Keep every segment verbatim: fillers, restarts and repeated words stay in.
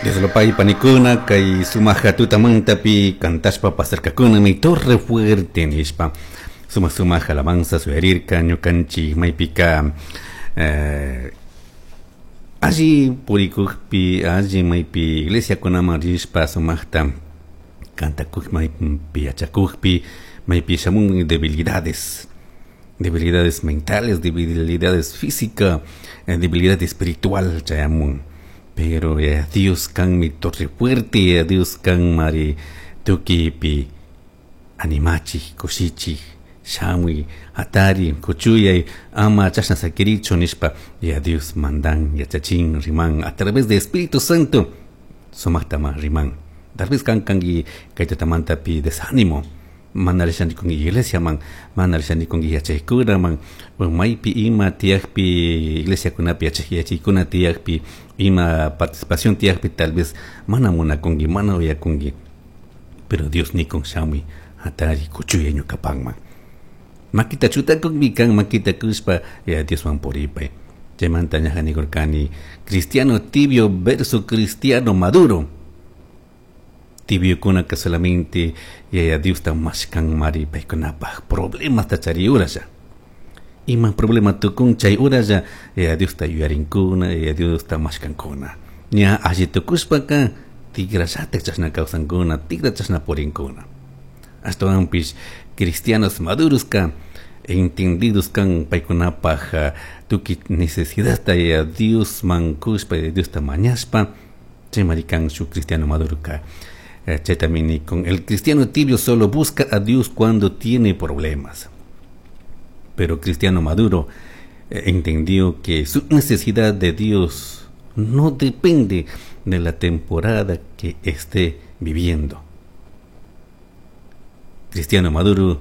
Dios panikuna kay sumaja tutamantapi kantashpa pasarkakuna mi torre fuerte nishpa suma sumaja alabanza suyarirka ñukanchik maypika eh, alli purikukpi alli maypi iglesiakunaman rishpa sumaqta kantakuk maypi yachakukpi maypi shamun debilidades debilidades mentales debilidades física eh, debilidad espiritual chayamun pero ya Dios kan mi torre fuerte ya Dios kan mari tukipi animachi kushichi shamuy hatari kuchuyay ama chashna sakirichu nishpa ya Dios mandan yachachin riman a través de Espíritu Santo sumaktama riman tal vez kan kanki kay tutamantapi desánimo mana rishani kunki iglesia man mana rishani kunki yachaykuna man maypi ima tiyakpi iglesiakunapi yachay yachaykuna tiyakpi ima participación tiyakpi tal vez mana munakunki mana uyakunki pero Dios nikun shamuy hatari kuchuyay ñukapanman makita chutakunmi kan makita kushpa ya Dioswan puripay chaymanta ñaja nikurkani cristiano tibio versus cristiano maduro tibiokunaka solamente yaya Diosta mashkan mari paykunapaj problemasta chari uralla ima problema tukun chay uralla yaya Diosta yuyarinkuna yaya Diosta mashkankuna ña alli tukushpaka tikrallatak chashna kawsankuna tikra chashna purinkuna ashtawanpish cristianos maduroska entendidos kan paykunapaj tukuy necesidadta yaya Diosman kushpa yaya Diosta mañashpa chaymari kan shuk cristiano maduroka chaytami con el cristiano tibio solo busca a Dios cuando tiene problemas pero cristiano maduro eh, entendió que su necesidad de Dios no depende de la temporada que esté viviendo. Cristiano maduro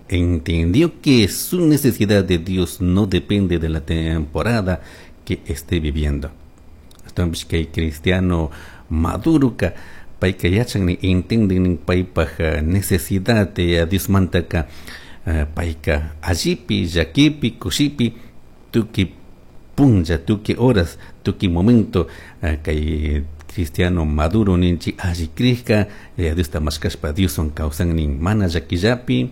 entendió que su necesidad de Dios no depende de la temporada que esté viviendo. Entonces, que cristiano maduro ka payka yachan entienden paypaj necesidad de Diosmantaka payka allipi llakipi kushipi tukuy punlla tukuy horas tukuy momento kay cristiano maduro ninchik alli krishka Diosta mashkashpa Dioswan kawsannin mana llakillapi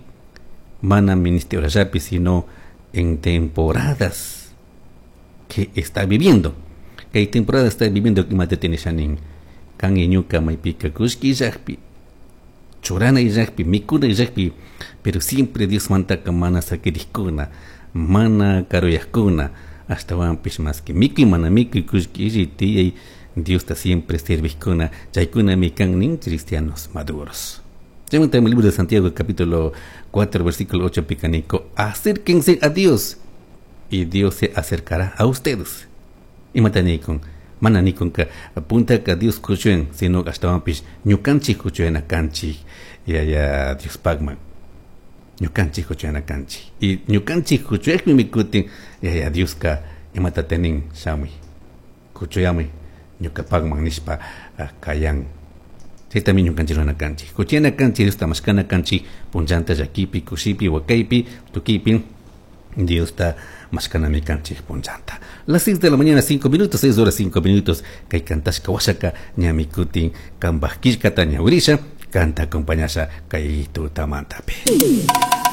mana ministeriollapi sino en temporadas que está viviendo kay temporada está viviendo imata tinishanin kan ñuka maypika kullki illakpi churana illakpi mikuna illakpi pero siempre Diosmantaka mana sakirikkuna mana karuyajkuna ashtawanpish maski mikuy mana mikuy kullki illay tiyay Diosta siempre servijkuna chaykunami kan nin cristianos maduros Chaymanta el libro de Santiago capítulo cuatro versículo ocho picaniko acérquense a Dios y Dios se acercará a ustedes imata nikun mana nikunka puntaka Dios kuchuen sino ashtawanpish ñukanchik kuchuena kanchik yaya Diospakman ñukanchik kuchuena kanchik y ñukanchik kuchuekmi kutin yaya Dioska imata tenin shamuy kuchuyamuy ñukapakman nishpa kayan chaytami ñukanchik rurana kanchik kuchuyana kanchik Diosta mashkana kanchik punllanta llakipi kushipi wakaypi tukiypi Diosta mashkanami kanchik punllanta las seis de la mañana cinco minutos seis horas cinco minutos kay kantashka washaka ñami kutin kanpaj killkata ñawirisha kanta acompañasha kay tutamantapi.